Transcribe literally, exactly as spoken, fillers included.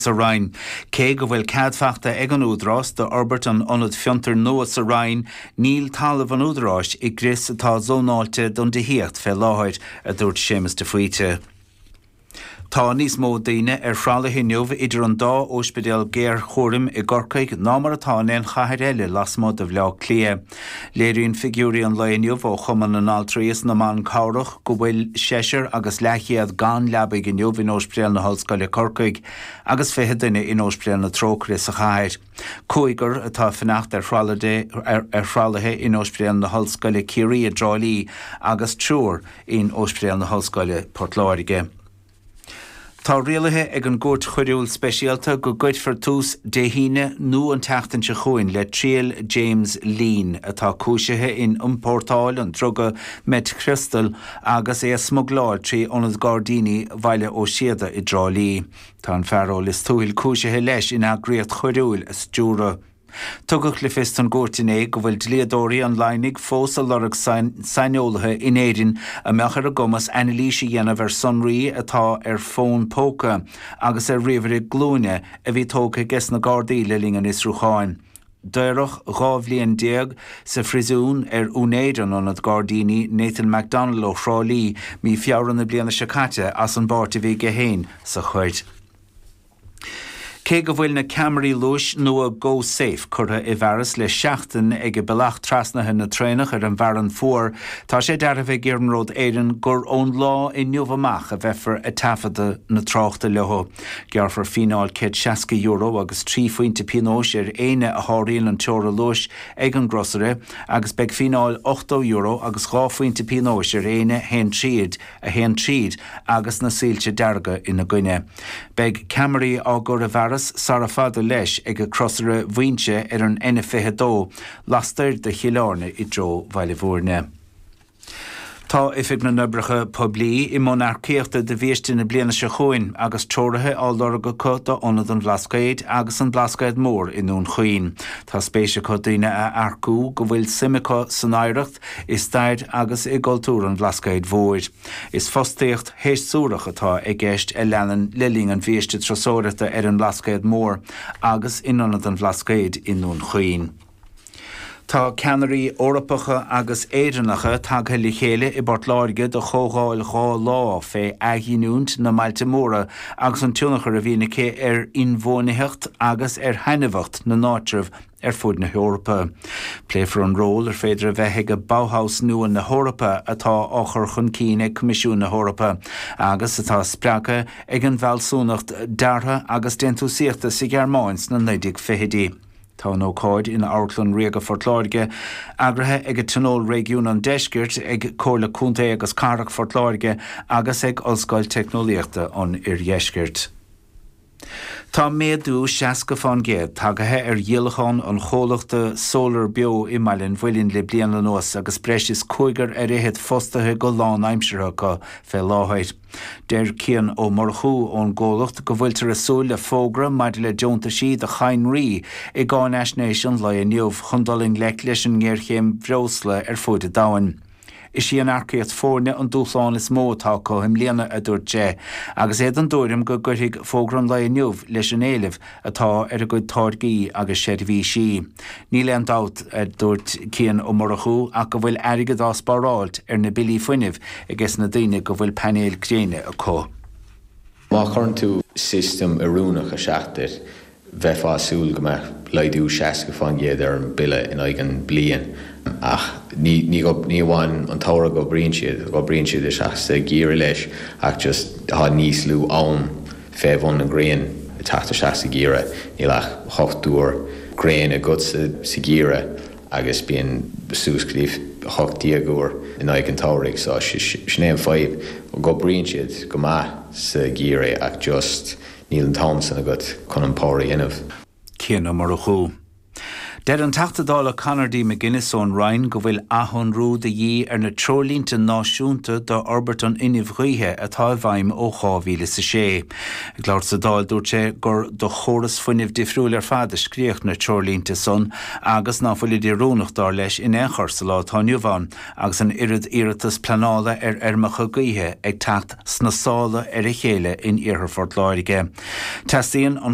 Sa Rinn. Cé go bhfuil cead faighte ag an Údarás d'fhorbairt an ionad fiontair nua sa Rinn, níl talamh an Údaráis i gcrios atá zónáilte don tithíocht fé láthair, a dúirt Séamus de Faoite. Tá níos mó daoine ar thralaithe inniu idir an dá ospidéal géarchúraim i gCorcaigh ná mar atá in aon chathair eile lasmuigh de Bhaile Átha Cliath. Léiríonn figiúirí an lae inniu ó Chumann na nAltraí is na mBan Cabhrach go bhfuil seisear agus leathchéad gan leabaidh inniu in Ospidéal na hOllscoile Corcaigh agus fiche duine in Ospidéal na Trócaire sa chathair. Cúigear atá ag fanacht ar thralaithe in Ospidéal na hOllscoile Ciarraí i dTrá Lí agus triúr in Ospidéal na hOllscoile Port Láirge. Tá rialaithe ag an gCúirt Choiriúil Speisialta go gcuirfear tús Dé hAoine nó an tseachtain seo chugainn le triail James Leen, atá cúisithe in iompórtáil an druga meitchriostal agus é a smugláil trí Ionad Gairdíní Bhaile Ó Síoda i dTrá Lí. Tá an fear ó Lios Tuathail cúisithe leis in eagraíocht choiriúil a stiúradh. Tugadh le fios don gcúirt inné go bhfuil dlíodóirí an Laighneigh fós ag lorg saineolaithe in Éirinn a mbeadh ar a gcumas anailís a dhéanamh ar sonraí atá ar fón póca agus ar ríomhaire glúine a bhí tógtha ages na Gardaí le linn an fhiosrúcháin. Daoradh dhá bhliain déag sa phríosún ar úinéir an Ionad Gairdíní, Nathan McDonnell ó Thrá Lí, mí Feabhra na bliana seo caite as an bpáirt a bhí aige féin sa choir. Cé go bhfuil na ceamaraí luais nua GoSafe curtha i bhfearas le seachtain ag bealach trasnaithe na traenach ar an bhFearann Fuar, tá sé dearbhaithe ag Iarnród Éireann gur ón lá inniu amach a bheifear ag taifeadadh na tráchta leo. Gearrfar fíneáil céad seasca euro agus trí phointe pionóis ar éinne a sháraíonn an teora luais ag an gcrosaire agus beidh fíneáil ochtó euro agus dhá phointe pionóis ar éinne a théann tríd a théann tríd agus na soilse dearga ina gcoinne. Beidh ceamaraí á gcur i bhfearas sara fada leis ag crosaire Mhuighinse ar an N fiche dó lastoir de Chill Airne i dtreo Bhaile Bhúirne. Tá Oifig na nOibreacha Poiblí i mbun earcaíochta do bhiaiste na bliana seo chugainn agus treoraithe á lorg acu d'Ionad an Bhlascaoid agus an Blascaod Mór i nDún Chaoin. Tá spéis acu daoine a earcú go bhfuil suim acu san oidhreacht, i stair agus i gcultúr an Bhlascaoid Mhóir. Is fostaíocht shéasúrach atá i gceist a leanann le linn an bhiaiste turasóireachta ar an mBlascaod Mór agus in Ionad an Bhlascaoid i nDún Chaoin. Tá ceannairí Eorpacha agus Éireannacha tagtha le chéile i bPort Láirge do chomhdháil dhá lá fé athghiniúint na mbailte móra agus an tionchar a bhíonn aici ar inbhuanaitheacht agus ar thaitneamhacht na n-áitreabh ar fud na hEorpa. Pléifear an ról ar féidir a bheith ag Bauhaus nua na hEorpa atá á chur chun cinn ag Coimisiún na hEorpa agus atá spreagtha ag an bhfealsúnacht deartha agus déantúsaíochta sa Ghearmáin sna naoi déag fichidí. Tá an ócáid in Amharclann Ríoga Phort Láirge eagraithe ag Tionól Réigiún an Deiscirt, ag Comhairle Contae agus Cathrach Phort Láirge agus ag Ollscoil Teicneolaíochta an Oirdheiscirt. Tá méadú seasca fán gcéad tagaithe ar dhíolachán an chomhlachta Solar Beo i mBaile an Mhuilinn le bliain anuas agus breis is cúigear ar fhichead fostaithe go lánaimseartha acu fé láthair. Deir Cian Ó Murchú ón gcomhlacht go bhfuiltear ag súil le fógra maidir le deontaisí do chadhnraí i gcáinaisnéis an lae inniu chun dul i ngleic leis an ngéarchéim bhreosla ar fud an domhain. Is í an earcaíocht foirne an dúshlán is mó atá acu i mbliana, a dúirt sé, agus é den tuairim go gcuirfidh fógra an lae inniu leis an éileamh atá ar a gcuid táirgí agus seirbhísí. Níl aon dabht, a dúirt Cian Ó Murchú, ach go bhfuil airgead á spáráilt ar na billí fuinnimh ages na daoine go bhfuil painéil gréine acu. Má chuireann tú system oiriúnach isteach duit, bheifeá ag súil go mbeadh laghdú seasca fán gcéad ar an bille in aghaidh an bliain ach ní ní ní amháin an tsamhradh go oibríonn siad, oibríonn siad isteach sa gheimhreadh leis ach just tá níos lú am fé bhun na gréine ag teacht isteach sa gheimhreadh, níl ach hocht uair gréin agat sa sa gheimhreadh agus bíonn suas go dtí hocht déag uair in aghaidh an tsamhraidh so sin é an fadhb, go oibríonn siad go maith sa gheimhreadh ach just níl an t-am san agat chun an power a dhéanamh. Cian Ó Murchú. Deir an Teachta Dála Conor D. McGuinness ón Rinn go bhfuil athshonrú de dhíth ar na treoirlínte náisiúnta d'fhorbairt an fhuinnimh ghaoithe atá i bhfeidhm ó dhá mhíle is a sé. Ag labhairt sa Dáil dúirt sé gur do chóras fuinnimh difriúil ar fad a scríodh na treoirlínte san agus ná fuilid oiriúnach dar leis in aon chor sa lá atá inniu ann agus an oiread iarratas pleanála ar fheirmeacha gaoithe ag teacht sna sála ar a chéile in iarthar Phort Láirge. Teastaíonn an